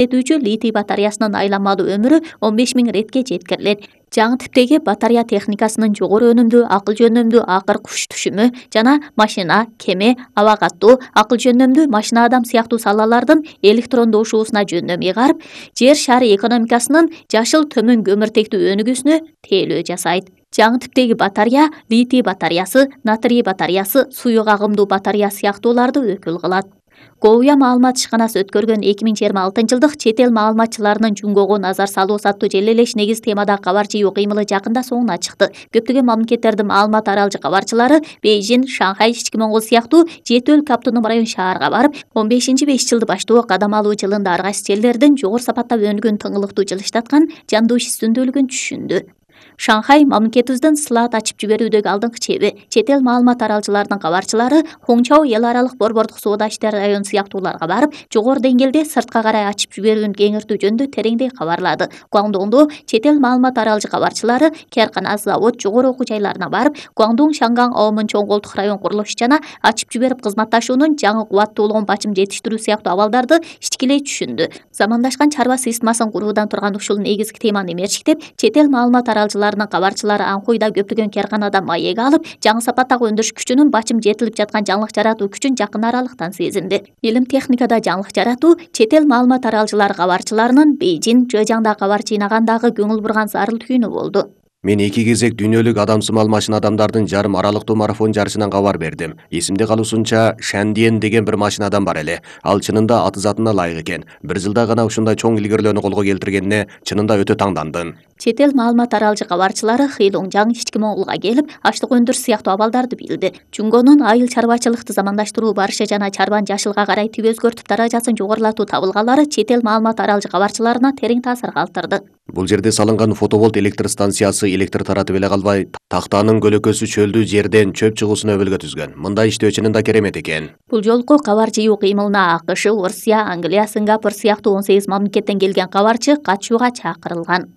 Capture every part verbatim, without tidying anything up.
этүүчү литий батареясынын айланмалуу өмүрү он беш миң иретке жеткирилет. Жаңы типтеги батарея техникасынын жогору өнүмдүү акыл жөнөмдүү акыр куш түшүмү жана машина, кеме, аба каттуу, акыл жөнөмдүү машина адам сыяктуу салалардын электрондошуусуна жөндөм ыйгарып, жер шары экономикасынын жашыл төмөн көмүртектүү өнүгүүсүнө тейлөө жасайт. Жаңы типтеги батарея литий батареясы, натрий батареясы, суюк агымдуу батарея сыяктууларды өкүл кылат. Говия маалымат ишканасы өткөргөн эки миң жыйырма алтынчы жылдык чет эл маалыматчыларынын Жунгого назар салуу саттуу желелеш негиз темадагы кабар жыйуу кыймылы жакында соңуна чыкты. Көптөгөн мамлекеттердин маалымат аралжы кабарчылары Бейжин, Шанхай, Ички Моңгол сыяктуу жети өлкө автоном район шаарга барып, он бешинчи беш жылды баштоо кадам алуу жылында ар кайсы жерлердин жогору сапаттап өнүгөн тыңылыктуу жылыштаткан жандуу иш үстүндүүлүгүн түшүндү. Шанхай мамлекетибиздин слайд ачып жиберүүдөгү алдыңкы чеби. Чет эл маалымат аралчыларынын кабарчылары Хоңчау эл аралык борбордук соода иштери району сыяктууларга барып, жогору деңгээлде сыртка карай ачып жиберүүнү кеңиртүү жөнүндө тереңдей кабарлады. Гуаңдоңдо чет эл маалымат аралжы кабарчылары кааркана, завод, жогору окуу жайларына барып, Гуаңдоң, Шанган, Аомун чоң колдук район курулушу жана ачып жиберип кызматташуунун жаңы кубаттуулугун бачым жетиштирүү сыяктуу абалдарды ичкилей түшүндү. Замандашкан чарба системасын куруудан турган ушул негизги теманы мерчиктеп, чет эл маалымат аралчыларынын кабарчылары Анкуйда көптөгөн каарканада маек алып, жаңы сапаттагы өндүрүш күчүнүн бачым жетилип жаткан жаңылык жаратуу күчүн жакын аралыктан сезинди. Илим техникада жаңылык жаратуу чет эл маалымат аралчылары кабарчыларынын Бейжин, Жыжаңда кабар жыйнагандагы көңүл бурган зарыл түйүнү болду. Мен эки кезек дүйнөлүк адамсымал машина адамдардын жарым аралыктуу марафон жарышынан кабар бердим. Эсимде калуусунча Шандиен деген бир машина адам бар эле. Ал чынында аты затына ылайык экен. Бир жылда гана ушундай чоң илгерүүлөрнү колго келтиргенине чынында өтө таңдандым. Чет эл маалымат аралжы кабарчылары Хилуңжаң, Ички Моңголго келип, ачлык өндүрүш сыяктуу абалдарды билди. Жунгонун айыл чарбачылыкты замандаштыруу барышы жана чарбанын жашылга карай тип өзгөртүп даражасын жогорулатуу табылгалары чет эл маалымат аралжы кабарчыларына терең таасир калтырды. Бул жерде салынган фотоволт электр станциясы электр таратып эле калбай, тактанын көлөкөсү чөлдүү жерден чөп чыгуусуна өбөлгө түзгөн. Мындай иштөө чынында керемет экен. Бул жолку кабар жыйуу кыймылына АКШ, Орусия, Англия, Сингапур сыяктуу он сегиз мамлекеттен келген кабарчы катышууга чакырылган.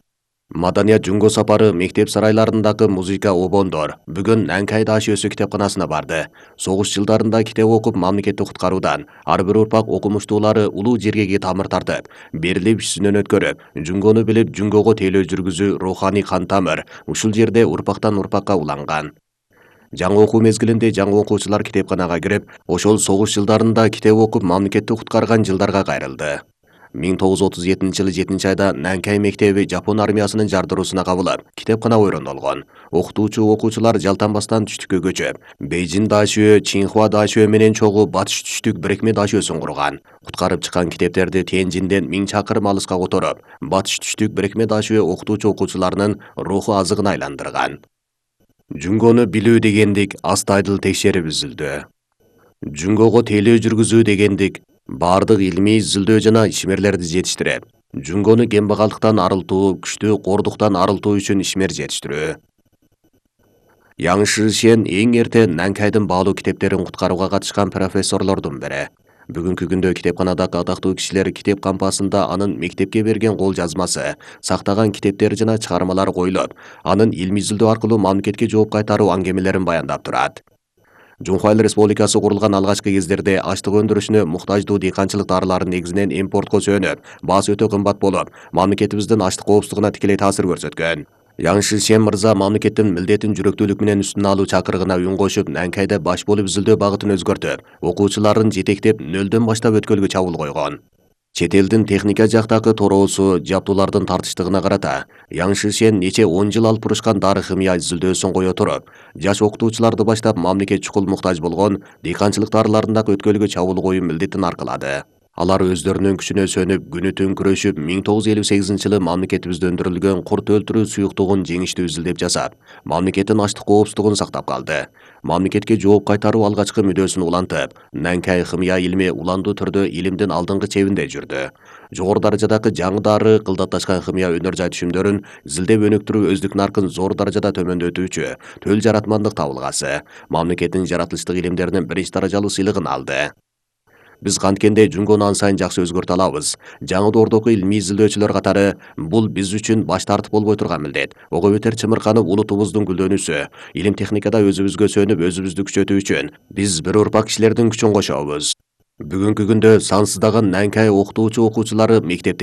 Маданият жунго сапары мектеп сарайларындагы музыка обондор бүгүн Нанкай Даш өсү китепканасына барды. Согуш жылдарында китеп окуп мамлекетти куткаруудан ар бир урпак окумуштуулары улуу жергеге тамыр тартып, берилип ишинен өткөрүп, жунгону билип жунгого тейлөө жүргүзүү руханий кан тамыр ушул жерде урпактан урпакка уланган. Жаңы окуу мезгилинде жаңы окуучулар китепканага кирип, ошол согуш жылдарында китеп окуп мамлекетти куткарган жылдарга кайрылды. миң тогуз жүз отуз жетинчи жылы жетинчи айда Нанкай мектеби Жапон армиясынын жардыруусуна кабылып, китепкана ойрондолгон. Окутуучу окуучулар жалтанбастан түштүккө көчүп, Бейжин дашөө, Чинхуа дашөө менен чогуу батыш түштүк бирикме дашөөсүн курган. Куткарып чыккан китептерди Тенжинден миң чакырым алыска которуп, батыш түштүк бирикме дашөө окутуучу окуучуларынын руху азыгына айландырган. Жунгону билүү дегендик астайдыл текшерип үзүлдү. Жунгого тейлөө жүргүзүү дегендик бардык илмий изилдөө жана ишмерлерди жетиштирип, жунгону кембагалдыктан арылтуу, күчтүү кордуктан арылтуу үчүн ишмер жетиштирүү. Яң Шишен эң эрте Нанкайдын баалуу китептерин куткарууга катышкан профессорлордун бири. Бүгүнкү күндө китепканадагы атактуу кишилер китеп кампасында анын мектепке берген кол жазмасы, сактаган китептери жана чыгармалары коюлуп, анын илмий изилдөө аркылуу мамлекетке жооп кайтаруу аңгемелерин баяндап турат. Жунхуа Эл Республикасы курулган алгачкы кездерде ачлык өндүрүшүнө муктаждуу дыйканчылык дарыларын негизинен импортко сүйөнүп, баасы өтө кымбат болуп, мамлекетибиздин ачлык коопсуздугуна тикелей таасир көрсөткөн. Яң Шишен мырза мамлекеттин милдетин жүрөктүүлүк менен үстүнө алуу чакырыгына үн кошуп, Нанкайда баш болуп изилдөө багытын өзгөртүп, окуучуларын жетектеп нөлдөн баштап өткөлгө чабуул койгон. Чет элдин техника жактагы тороосу, жабдуулардын тартыштыгына карата Яң Шишен нече он жыл алып турушкан дары химия изилдөөсүн кое туруп, жаш окутуучуларды баштап мамлекет чукул муктаж болгон дыйканчылык дарыларындагы өткөлгө чабуул коюу милдетин аркылады. Алар өздөрүнүн күчүнө сөнүп, күнү түн күрөшүп, миң тогуз жүз элүү сегизинчи жылы мамлекетибизде өндүрүлгөн курт өлтүрүү суюктугун жеңиштүү изилдеп жасап, мамлекеттин ачлык коопсуздугун сактап калды. Мамлекетке жооп кайтаруу алгачкы мүдөөсүн улантып, Нанкай химия илми уландуу түрдө илимдин алдыңкы чебинде жүрдү. Жогору даражадагы жаңы дары, кылдатташкан химия өнөр жай түшүмдөрүн изилдеп өнүктүрүү өздүк наркын зор даражада төмөндөтүүчү төл жаратмандык табылгасы, мамлекеттин жаратылыштык илимдеринин биринчи даражалуу сыйлыгын алды. Биз канткенде жунгону ан сайын жакшы өзгөртө алабыз. Жаңы доордогу илмий изилдөөчүлөр катары бул биз үчүн баш тартып болбой турган милдет. Ого бетер чымырканып улутубуздун гүлдөнүүсү, илим техникада өзүбүзгө сөнүп өзүбүздү күчөтүү үчүн биз бир урпак кишилердин күчүн кошобуз. Бүгүнкү күндө сансыздаган Нанкай окутуучу окуучулары мектепте